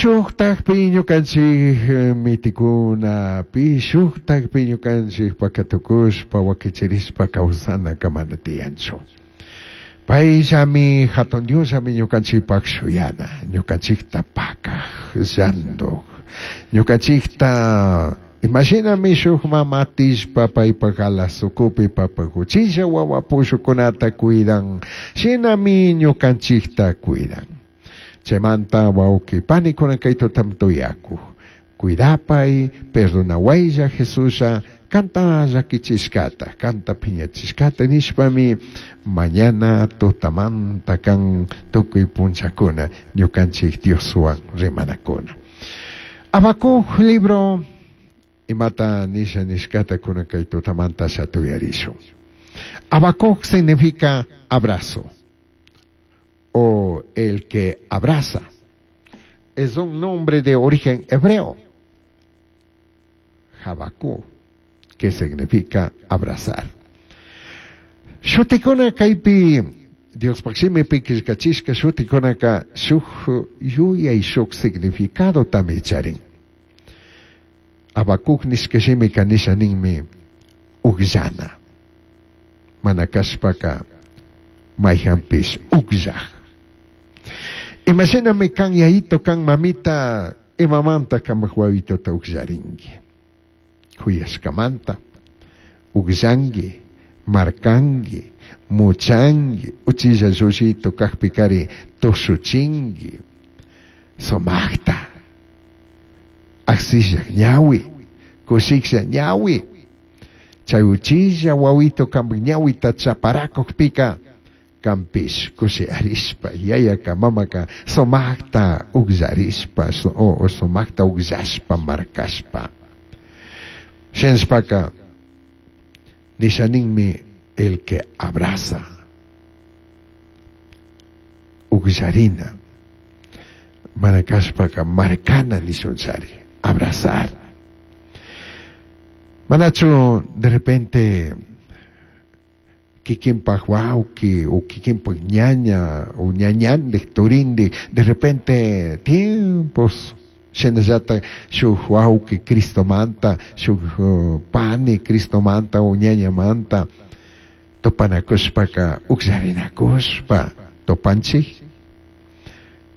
shujtajpi ñukanchik mitikuna, pi shujtajpi ñukanchik pakatukushpa wakichirishpa kawsanaka mana tiyanchu. Payllami hatun Diosllami ñukanchikpak shuyana, ñukanchikta pakaj, llanduj, ñukanchikta imashinami shuk mama atishpa paypak alas ukupi paypak uchilla wawa pushukunata cuidan, shinami ñukanchikta cuidan. Chaymanta wawqi panikuna kay tutam tuyakuq. Cuidapay, perdonawaylla Jesuslla, kanta llakichishkata, kanta phiñachishkata nishpami mañana tutamanta kan tukuy punchakuna ñukanchik Dioswan rimanakuna. Habacuc libro imata nisha nishkata kunan kay tutamanta shatuyarishun. Habacuc significa abrazo o el que abraza. Es un nombre de origen hebreo. Habacuc, que significa abrazar. Shutikuna kaypi Diospaq shimipi killkachishka shutikunaka shuk yuyay shuk significadotami charin. Habacuc nishka shimika nisha ninmi ugllana. Mana kashpaka mayhanpish ugllaj. Imashinami kan yayito kan mamita imamanta kamak wawitota ugllarinki. Huyashkamanta ugllanki, markanki, muchanki, uchilla llullito kajpikari tushuchinki, sumaqta, aksillaq ñawi, kushiklla ñawi, chay uchilla wawito kampak ñawita chaparakukpika kampish kushiyarishpa yayaka mamaka sumaqta ugllarishpa o sumaqta ugllashpa markashpa. Shinashpaka nisha ninmi el que abraza, ugllarina, mana kashpaka markana nishunchari, abrazar. Manachu de repente kikinpak wawki o kikinpak ñaña o ñañandik turindik de repente tiempos shinallata shuk wawki Cristomanta, shuk pani Cristomanta o ñañamanta tupanakushpaka ugllarinakushpa tupanchik.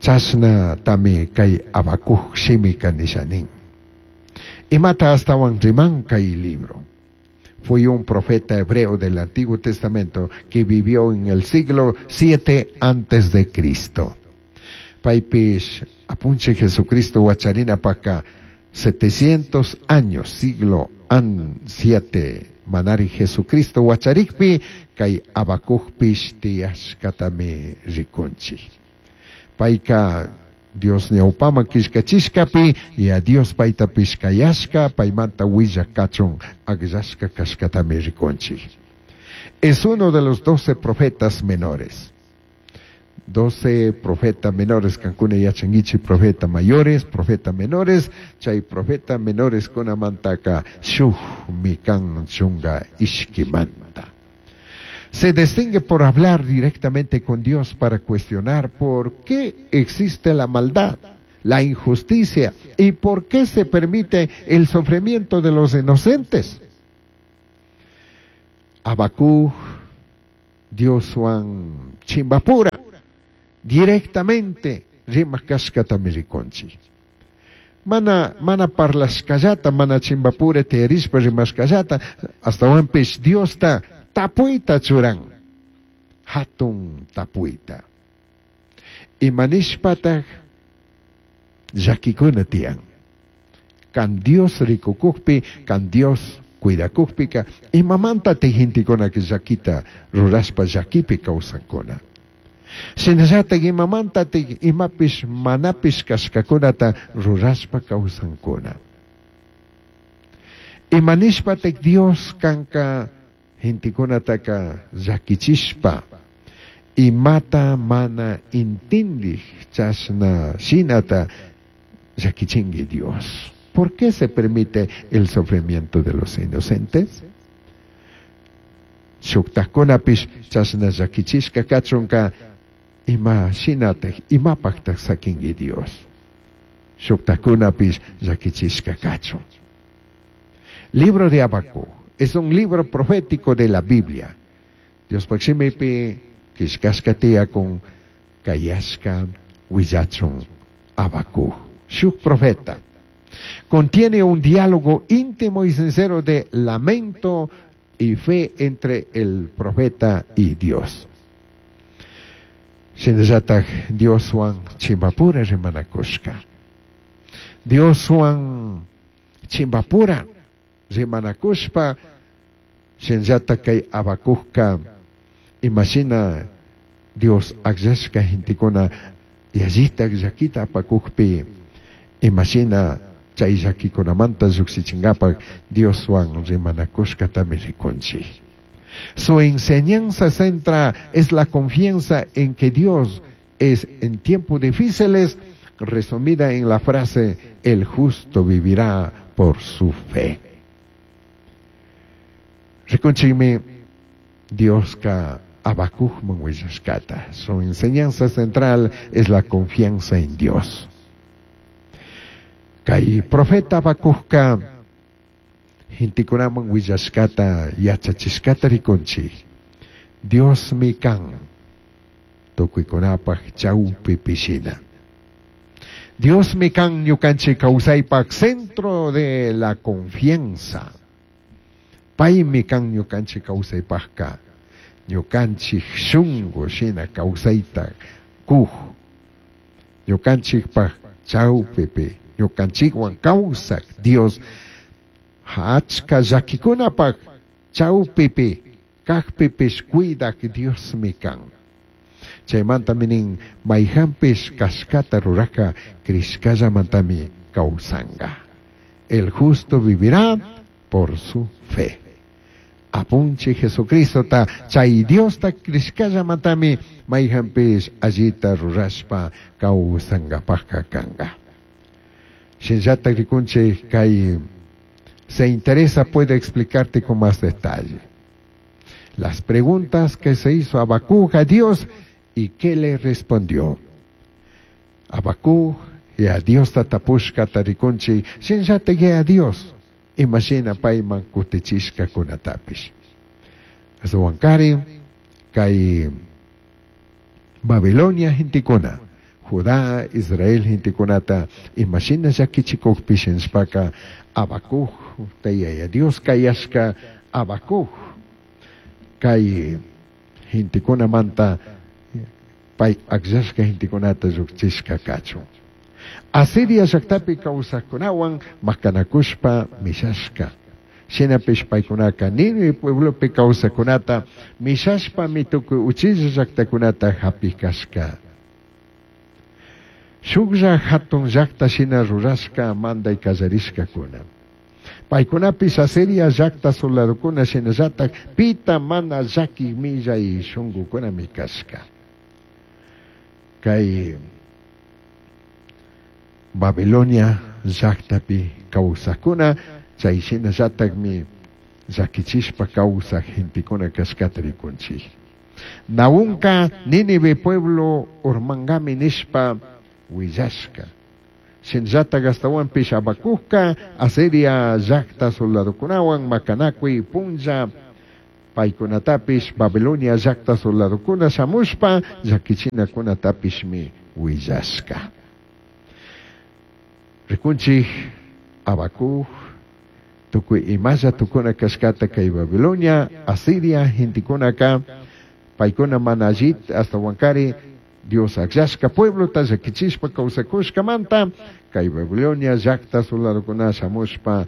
Chashna tami kay Habacuc shimika nisha nin. Imata astawan riman kay libro. Fue un profeta hebreo del Antiguo Testamento que vivió en el siglo 7 antes de Cristo. Paypish apunchik Jesucristo wacharina paka 700 años, siglo an 7 manari Jesucristo wacharikpi kay Habacucpish tiyashkatami rikunchik. Payka Dios ñawpaman killkachishkapi y a Dios paytapish kayashka paymanta willak kachun akllashka kashkatami rikunchik. Es uno de los 12 profetas menores. 12 profetas menores, kankuna yachankichik profeta mayores, profeta menores, chay profeta menores kunamantaka shukmi kan chunga ishkimanta. Se distingue por hablar directamente con Dios para cuestionar por qué existe la maldad, la injusticia y por qué se permite el sufrimiento de los inocentes. Habacuc, Dioswan chimbapura, directamente rimaq kashkatami rikunchik. Mana, mana parlashkallata, mana chimbapura tiyarishpa rimashkallata, astawanpish Diosta tapuyta churan, hatun tapuyta. Imanishpataq llakikuna tiyan. Kan Dios rikukukpi, kan Dios cuidakukpika, imamantatik gentekunaka llakita rurashpa llakipi kawsankuna. Shinallatak imamantatik imapish manapish kashkakunata rurashpa kawsankuna. Imanishpatak Dios kanka gentekunataka llakichishpa imata mana intindik chashna shinata llakichinki Dios. ¿Por qué se permite el sufrimiento de los inocentes? Shuktajkunapish chashna llakichishka kachunka ima shinatak imapaktak sakinki Dios. Shujtajcunapish llaquichishca cachun. Libro de Habacuc es un libro profético de la Biblia. Diospaj shimipi quillcashca tiyacun cayashca huillachun Habacuc, shuj profeta. Contiene un diálogo íntimo y sincero de lamento y fe entre el profeta y Dios. Shinallataj Dioshuan chimbapura rimanacushca. Dioshuan chimbapura rimanacushpa shinallataj kay Habacucca imashina Dios agllashca gentecuna yallitaj llaquita apacujpi imashina chay llaquicunamanta llujshichingapak Dioshuan rimanacushcatami ricunchij. Su enseñanza centra es la confianza en que Dios es en tiempos difíciles, resumida en la frase, el justo vivirá por su fe. Ricunchijmi Diosca Habacucman huillashcata. Su enseñanza central es la confianza en Dios. Kay profeta Habacucca gentecunaman huillashcata yachachishcata ricunchij. Diosmi can tucuicunapaj chaupipi shina. Diosmi can ñucanchik causaypaj centro de la confianza. Paymi can ñucanchik causaypajka ñucanchik shungu shina causayta kuj ñucanchikpaj chaupipi ñucanchikwan causaj Dios achka llaquikunapaj chaupipi kajpipish cuidaj Diosmi kan. Chaymantami nin mayjanpish kashkata rurajka crishkallamantami kawsanga. El justo vivirá por su fe. Apunchij Jesucristota chay Diosta crishkallamantami mayjanpish allita rurashpa kawsangapajka kanga. Shinallataj rikunchik kay se interesa puede explicarte con más detalle. Las preguntas que se hizo Habacuc a Dios y qué le respondió. Habacuc y a Dios tapushkata rikunchik shinallataj a Dios imashina payman kutichishkakunatapish. Ashtahuankarin kay Babilonia gentekuna, Judá, Israel gentekunata imashina llakichikukpish nishpaka Habacuc Yaya Dios kayashka Habacuc kay gentekunamanta pay akllashka gentekunata llukchishka kachun. Asiria llaktapi kawsajkunawan makanakushpa mishashka. Shinapish paykunaka Nínive pueblopi kawsajkunata mishashpami tukuy uchilla llaktakunata hapikashka. Shuklla hatun llakta shina rurashka manday kallarishkakuna. Paykunapish Asiria llakta soldadokuna shinallatak pita mana llaki millay shunkukunami kashka. Kay Babilonia llaktapi kawsajkuna chay shinallatakmi llakichishpa kawsaj gentekuna kashkata rikunchik. Nahumka Nínive pueblo urmangami nishpa willashka. Shinallatak ashtawanpish Habacucka Asiria llakta soldadokunawan makanakuy punlla paykunatapish Babilonia llakta soldadokuna shamushpa llakichinakunatapishmi willashka. Rikunchik Habacuc tukuy imalla tukuna kashkata kay Babilonia, Asiria gentekunaka paykuna mana allita ashtawankari Dios akllashka pueblota llakichishpa kawsakushkamanta kay Babilonia llakta soldadokuna shamushpa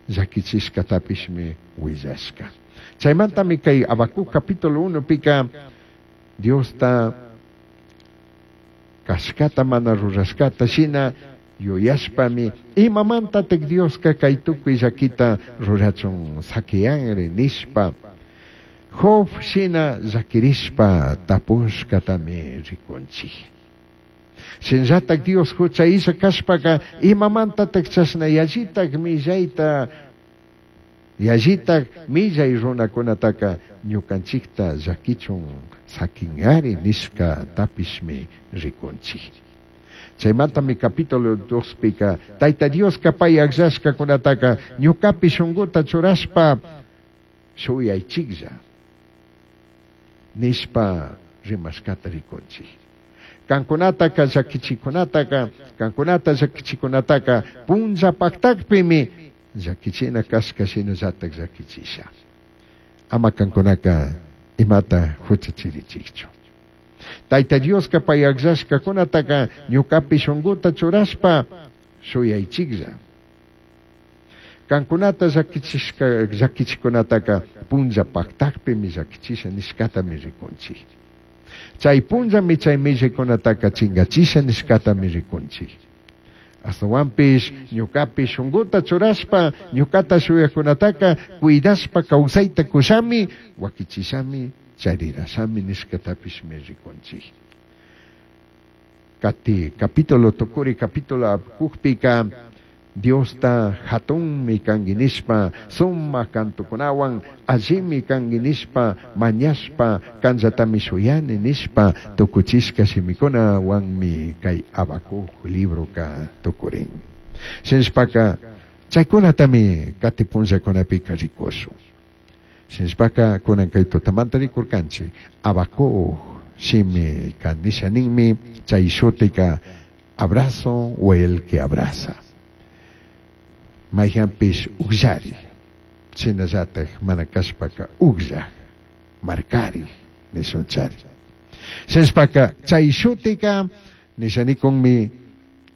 llakichishkatapishmi willashka. Chaymantami kay Habacuc capítulo 1 pika Diosta kashkata mana rurashkata shina yuyashpami imamantatak Dioska kay tukuy llakita rurachun sakiyanri nishpa Job shina llakirishpa tapushkatami rikunchik. Shinallatak Dios hucha illa kashpaka imamantatak chashna yallitak millayta yallitak millay runakunataka ñukanchikta llakichun sakinari nishka tapishmi rikunchik. Chaymantami capítulo 2 pika Tayta Dioska pay akllashkakunataka ñukapi shunkuta churashpa shuyaychiklla nishpa rimashkata rikunchik. Kankunataka llakichikunataka, kankunata llakichikunataka punlla paktakpimi llakichina kashka shinallatak llakichisha. Ama kankunaka imata huchachirichikchu. Tayta Dioska pay akllashkakunataka ñukapi shunkuta churashpa shuyaychiklla. Kankunata llakichishka llakichikunataka punlla paktakpimi llakichisha nishkatami rikunchik. Chay punllami chay millaykunataka chingachisha nishkatami rikunchik. Astawanpish ñukapi shunkuta churashpa ñukata shuyakunataka cuidashpa kawsayta kushami wakichishami charirashami nishkatapishmi rikunchik. Kati capítulo tukuri capítulo kukpika Diosta hatunmi kanki nishpa sumak kantukunawan allimi kanki nishpa mañashpa kanllatami shuyani nishpa tukuchishka shimikunawanmi kay Habacuc libroka tukurin. Shinashpaka chaykunatami kati punllakunapika rikushun. Shinashpaka kunan kay tutamanta rikurkanchik Habacuc shimika nisha ninmi chay shutika abrazo o el que abraza. Mayhanpish ukllari, shinallatak mana kashpaka ukllak, markari nishunchari. Shinashpaka chay shutika nishanikunmi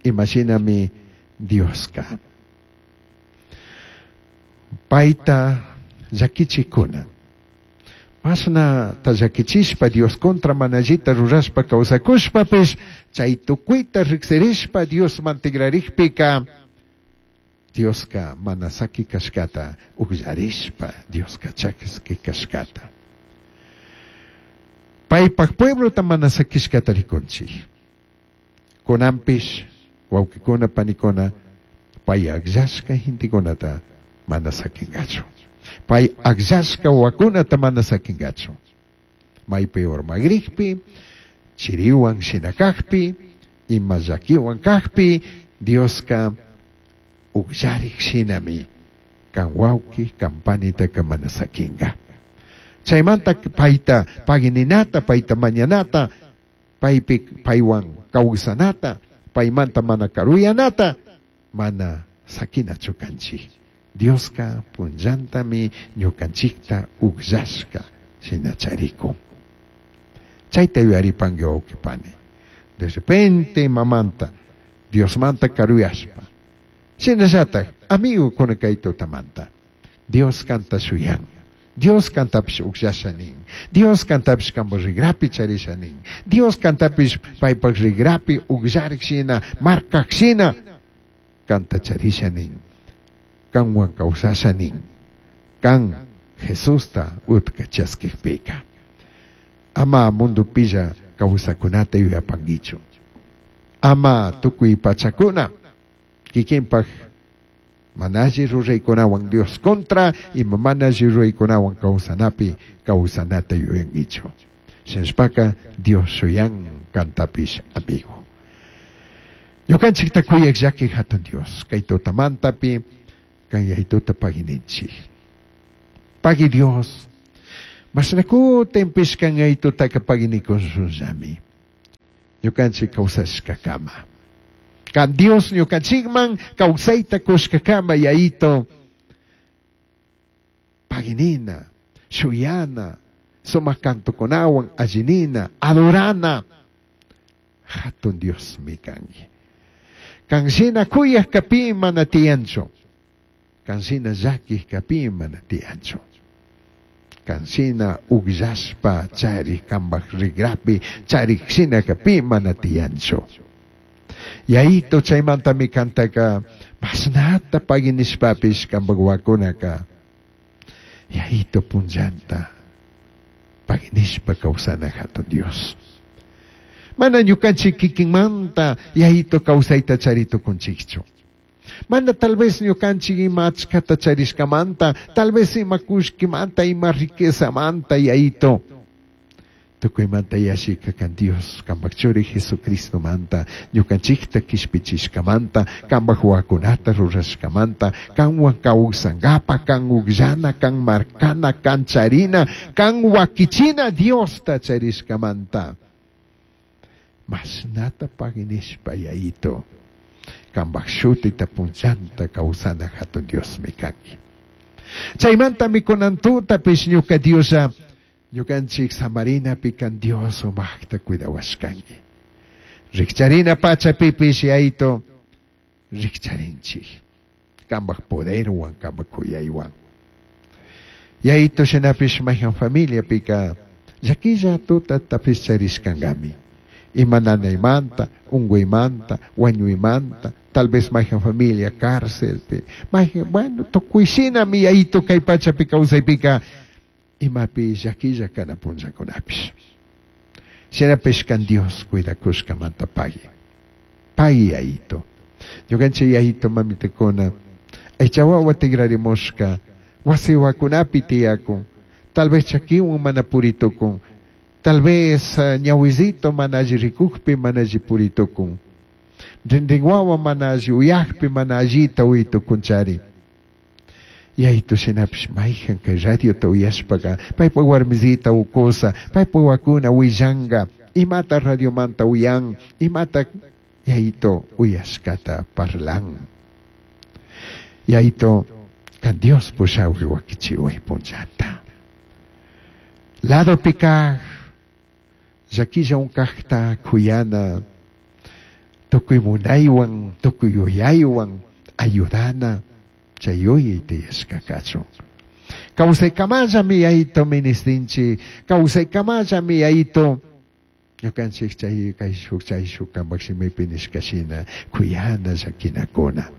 imashinami Dioska. Payta llakichikuna. Mashnata llakichishpa Dios contra mana allita rurashpa kawsakushpapish chay tukuyta riksirishpa Diosman tigrarikpika Dioska mana saki kashkata ukllarishpa Dioska chakiski kashkata. Paypak pueblota mana sakishkata rikunchik. Kunanpish wawkikuna panikuna pay akllashka gentekunata mana sakingachu. Pay akllashka wawakunata mana sakingachu. Maypi urmagrikpi, chiriwan shina kakpi, ima llakiwan kakpi, Dioska ukllarik shinami kan wawki kan panitaka mana sakinga. Chaymanta payta pagininata, payta mañanata, paypi paywan kawsanata, paymanta mana karuyanata, mana sakinachu kanchik. Dioska punllantami ñukanchikta ukllashka shina charikun. Chayta yuyaripanki wawqi pani. De repente mamanta Diosmanta karuyashpa. Shinallatak amigokuna kay tutamanta. Dios kanta shuyan. Dios kantapish ukllasha nin. Dios kantapish kanpak rigrapi charisha nin. Dios kantapish paypak rigrapi ukllarik shina, markak shina kanta charisha nin. Kanwan kawsasha nin. Kan Jesusta utka chaskikpika. Ama mundupilla kawsakunata yuyapankichu. Ama tukuy pachakuna kikinpak mana alli ruraykunawan Dios contra ima mana alli ruraykunawan kawsanapi kawsanata yuyankichu. Shinashpaka Dios shuyan kantapish amigo. Ñukanchikta kuyak llaki hatun Dios kay tutamantapi kay yaytuta pagininchik. Pagi Dios. Mashnakutinpish kan yaytutaka paginikushunllami. Ñukanchik kawsashkakama. Kan Dios ñukanchikman kawsayta kushkakama yayito. Paginina, shuyana, sumak kantukunawan allinina, adorana. Hatun Dios mi kanki. Kan shina kuyak kapi mana tiyanchu. Kan shina llakik kapi mana tiyanchu. Kan shina ukllashpa charik kanpak rigrapi charik shina kapi mana tiyanchu. Yayito chaymantami kantaka mashnata paginishpapish kanpak wawakunaka yayito punllanta paginishpa kawsana hatun Dios. Mana ñukanchik kikinmanta yayito kawsayta chari tukunchikchu. Mana tal vez ñukanchik ima achkata charishkamanta, tal vez ima kullkimanta, ima riquezamanta yayito. Tukuymanta yallika kan Dios, kanpak churi Jesucristomanta, ñukanchikta kishpichishkamanta, kanpak wawakunata rurashkamanta, kanwan kawsankapak, kan ukllana, kan markana, kan charina, kan wakichina Diosta charishkamanta. Mashnata pagui nishpa Yayito, kanpak shutita punchanta kawsana hatun Diosmi kanki. Chaymantami kunan tutapish ñuka Dioslla ñukanchik samarinapi kan Dios sumaqta cuidawashkanki. Rikcharina pachapipish Yayito rikcharinchik. Kanpak poderwan, kanpak kuyaywan. Yayito shinapish mayhan familiapika llakilla tutatapish charishkankami. Ima nanaymanta, unkuymanta, wañuymanta, tal vez mayhan familia cárcelpi, mayhan, bueno, tukuy shinami Yayito kay pachapi kawsaypika imapi llakilla kana punllakunapish. Shinapish kan Dios cuidakushkamanta pagui. Pagui Yayito. Ñukanchik Yayito mamitakuna, aycha wawa tigrarimushka, wasi wawakunapi tiyakun, tal vez chakiwan mana puritukun, tal vez ñawizito mana alli rikukpi mana alli puritukun, rinrin wawa mana alli uyakpi mana allita uytukunchari. Yayito shinapish mayhan kay radiota uyashpaka paypak warmisita ukusa, paypak wawakuna willanka, imata radiomanta uyan, imata Yayito uyashkata parlan. Yayito kan Dios pushawi wakichiway punchanta. Ladopi kaj, llakilla unkajta kuyana, tukuy munaywan, tukuy yuyaywan ayudana, chay yuyay tiyashka kachun. Kawsaykamallami Yayito ministinchik, kawsaykamallami Yayito ñukanchik chay kayshuk chayshuk kanpak shimipi nishka shina kuyana llakinakuna.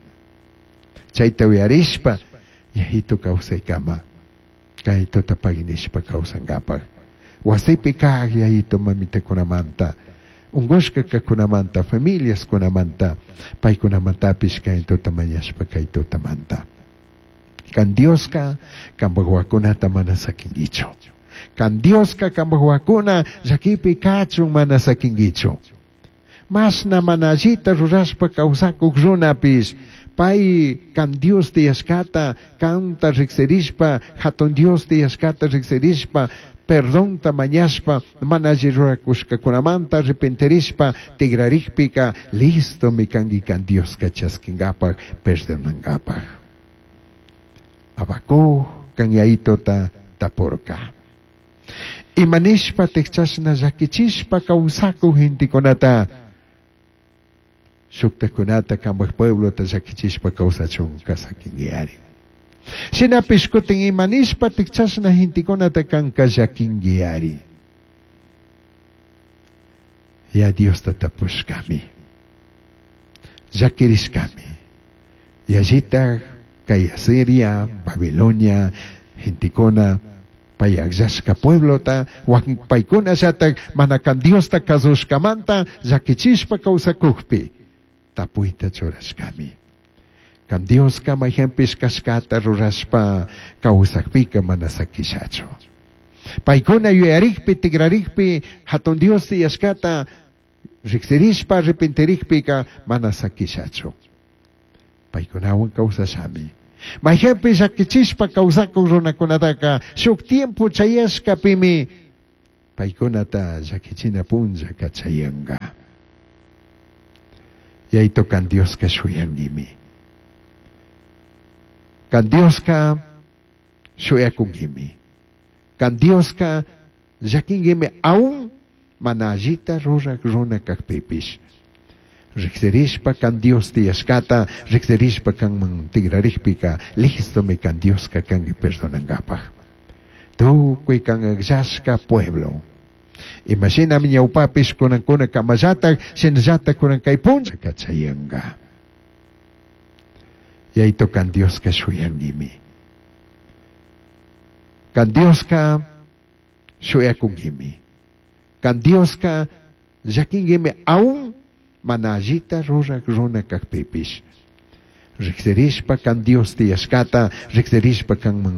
Chayta uyarishpa Yayito kawsaykama kay tuta pagui nishpa kawsankapak. Wasipi kaj Yayito mamitakunamanta, unkushka kajkunamanta, familiaskunamanta, paykunamantapish kay tuta mañashpa kay tutamanta. Kan Dioska kanpak wawakunata mana sakinkichu. Kan Dioska kanpak wawakuna llakipi kachun mana sakinkichu. Mashna mana allita rurashpa kawsakuk runapish, pay kan Dios tiyashkata, kanta riksirishpa, hatun Dios tiyashkata riksirishpa, perdonta mañashpa, mana alli rurakushkakunamanta arrepentirishpa, tigrarikpika, listomi kanki kan Dioska chaskinkapak, perdonankapak. Habacuc kan Yayitota tapurka. Imanishpa chashna llakichishpa kawsakuk gentekunata, shuktakunata kanpak pueblota llakichishpa kawsachunka sakinkiari. Shinapish kutin imanishpa chashna gentekunata kanka llakinkiari. Ya Diosta tapushkami, llakirishkami, yallitaj kay Asiria, Babilonia, gentekuna, pay akllashka pueblota, wakin paykunallatak mana kan Diosta kasushkamanta llakichishpa kawsakukpi, tapuyta churashkami. Kan Dioska mayhanpish kashkata rurashpa kawsakpika mana sakishachu. Paykuna yuyarikpi, tigrarikpi, hatun Dios tiyashkata riksirishpa, arrepentirikpika mana sakishachu. Paykunawan kawsashami. Mayhanpi llakichishpa kawsakuk runakunataka shuk tiempo chayashkapimi paykunata llakichina punllaka chayanka. Yayito kan Dioska shuyankimi. Kan Dioska shuyakunkimi. Kan Dioska llakinkimi aún mana allita rurak runa kakpipish. Riksirishpa kan Dios tiyashkata, riksirishpa kanman tigrarikpika, listomi kan Dioska kanki perdonankapak. Tukuy kan akllashka pueblo. Imashinami ñawpapish kunankuna kamallatak, shinallatak kunan kay punlla kachayanka. Yayito kan Dioska shuyankimi. Kan Dioska shuyakunkimi. Kan Dioska llakinkimi aún mana allita rurak runa kakpipish. Riksirishpa kan Dios tiyashkata, riksirishpa kanman